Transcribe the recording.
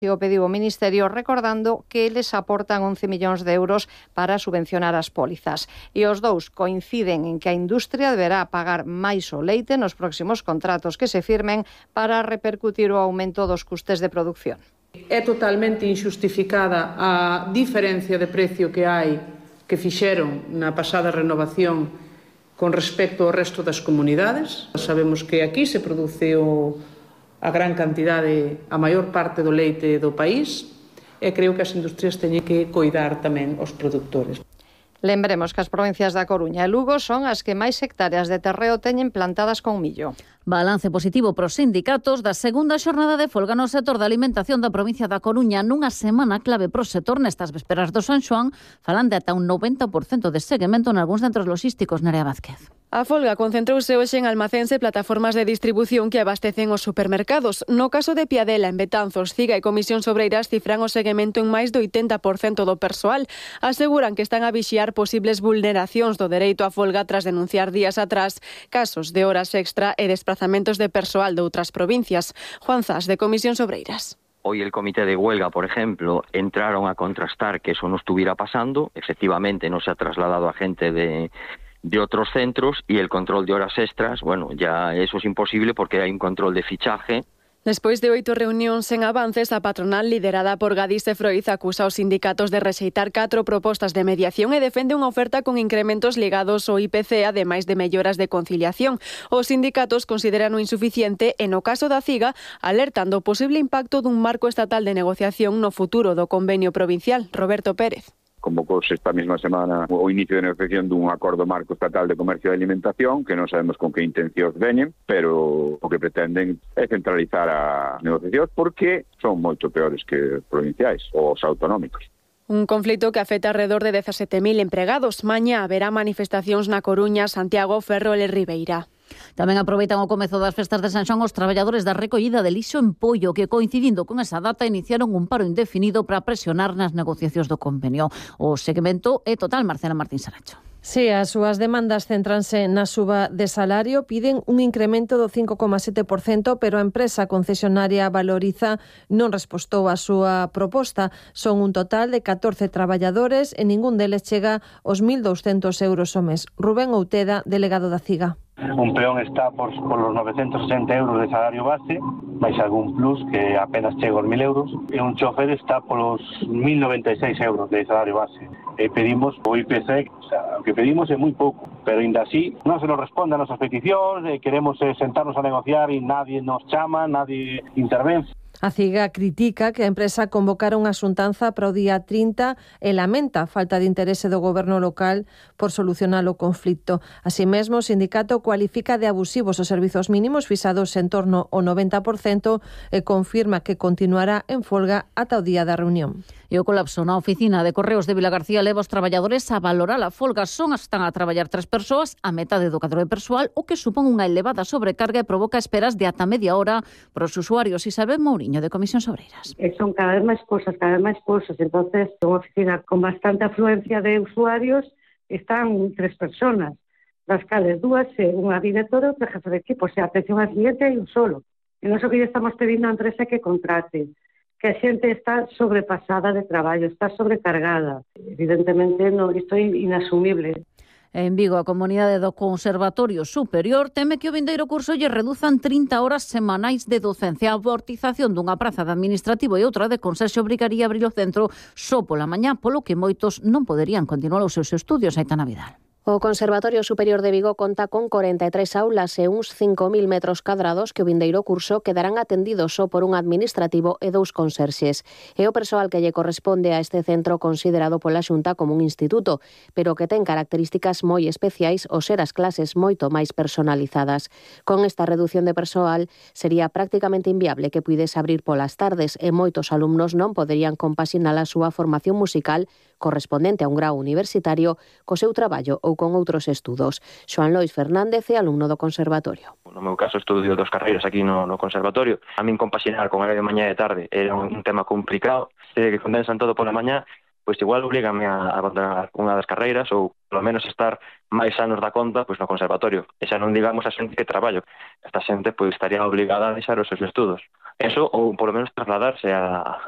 O pediu o Ministerio recordando que eles aportan 11 millóns de euros para subvencionar as pólizas. E os dous coinciden en que a industria deberá pagar máis o leite nos próximos contratos que se firmen para repercutir o aumento dos custes de produción. É totalmente inxustificada a diferencia de precio que hai que fixeron na pasada renovación con respecto ao resto das comunidades. Sabemos que aquí se produce a gran cantidade, a maior parte do leite do país, e creo que as industrias teñen que coidar tamén os produtores. Lembremos que as provincias da Coruña e Lugo son as que máis hectáreas de terreo teñen plantadas con millo. Balance positivo pros sindicatos da segunda xornada de folga no sector da alimentación da provincia da Coruña nunha semana clave pro sector nestas vésperas do San Xoán, falan de ata un 90% de seguimento nalgúns centros logísticos. Nerea Vázquez. A folga concentrouse hoxe en almacéns e plataformas de distribución que abastecen os supermercados. No caso de Piadela, en Betanzos, Ciga e Comisión Sobreiras cifran o seguimento en máis do 80% do persoal. Aseguran que están a vixiar posibles vulneracións do dereito á folga tras denunciar días atrás casos de horas extra e desplazamentos de persoal de outras provincias. Juan Zas, de Comisión Sobreiras. Hoy el comité de huelga, por ejemplo, entraron a contrastar que eso no estuviera pasando. Efectivamente, no se ha trasladado a gente de otros centros, y el control de horas extras, bueno, ya eso es imposible porque hay un control de fichaje. Despois de 8 reunións sen avances, a patronal liderada por Gadis e Froiz acusa aos sindicatos de rexeitar 4 propostas de mediación e defende unha oferta con incrementos ligados ao IPC, ademais de melloras de conciliación. Os sindicatos consideran o insuficiente e, no caso da CIGA, alertan do posible impacto dun marco estatal de negociación no futuro do convenio provincial. Roberto Pérez. Convocouse esta mesma semana o inicio de negociación dun acordo marco estatal de comercio e alimentación, que non sabemos con que intencións veñen, pero o que pretenden é centralizar a negociación porque son moito peores que os provinciais ou os autonómicos. Un conflito que afecta alrededor de 17.000 empregados. Mañá haberá manifestacións na Coruña, Santiago, Ferrol e Ribeira. Tamén aproveitan o comezo das festas de San Xoán os traballadores da recollida de lixo en Pollo, que coincidindo con esa data iniciaron un paro indefinido para presionar nas negociacións do convenio. O seguimento é total. Marcela Martín Saracho. Si, as súas demandas centranse na suba de salario, piden un incremento do 5,7%, pero a empresa concesionaria Valoriza non respostou a súa proposta. Son un total de 14 traballadores e ningún deles chega aos 1.200 euros ao mes. Rubén Outeda, delegado da CIGA. Un peón está por los 960 euros de salario base, máis algún plus que apenas chega aos 1.000 euros, e un chofer está polos 1.096 euros de salario base. E pedimos o IPC, o que pedimos é moi pouco, pero ainda así non se nos responde a nosas peticións, queremos sentarnos a negociar e nadie nos chama, nadie intervén. A CIGA critica que a empresa convocara unha xuntanza para o día 30 e lamenta a falta de interese do goberno local por solucionar o conflito. Así mesmo, o sindicato cualifica de abusivos os servizos mínimos fixados en torno ao 90% e confirma que continuará en folga ata o día da reunión. E o colapso na oficina de Correos de Vilagarcía leva os traballadores a valorar a folga. Están a traballar 3 persoas, a metade do cadro de persoal, o que supón unha elevada sobrecarga e provoca esperas de ata media hora para os usuarios. Isabel Mouriño, de Comisión Sobreiras. Son cada vez máis cousas. Entonces, unha oficina con bastante afluencia de usuarios, están 3 personas, das cales 2 unha directora e outra jefe de equipo. O sea, atención al cliente hai un solo. E non so que lle estamos pedindo a empresa que contrate, que a xente está sobrepasada de traballo, está sobrecargada. Evidentemente, isto é inasumible. En Vigo, a comunidade do Conservatorio Superior teme que o vindeiro curso lle reduzan 30 horas semanais de docencia. A amortización dunha praza de administrativo e outra de conserxe obrigaría a abrir o centro só pola mañá, polo que moitos non poderían continuar os seus estudios. Aitana Vidal. O Conservatorio Superior de Vigo conta con 43 aulas e uns 5.000 metros cadrados que o vindeiro curso quedarán atendidos só por un administrativo e 2 conserxes. É o persoal que lle corresponde a este centro considerado pola Xunta como un instituto, pero que ten características moi especiais ao ser as clases moito máis personalizadas. Con esta reducción de persoal sería prácticamente inviable que puidese abrir polas tardes e moitos alumnos non poderían compaxinar a súa formación musical correspondente a un grau universitario co seu traballo ou con outros estudos. Xoan Lois Fernández é alumno do Conservatorio. No meu caso, estudio 2 carreiras aquí no Conservatorio. A min compaxinar con horario de mañá e tarde era un tema complicado. Que condensan todo pola mañá, pois igual oblígame a abandonar unha das carreiras ou polo menos estar máis anos da conta pois no Conservatorio. E xa non digamos a xente que traballo. Esta xente pois estaría obligada a deixar os seus estudos. Eso, ou polo menos trasladarse a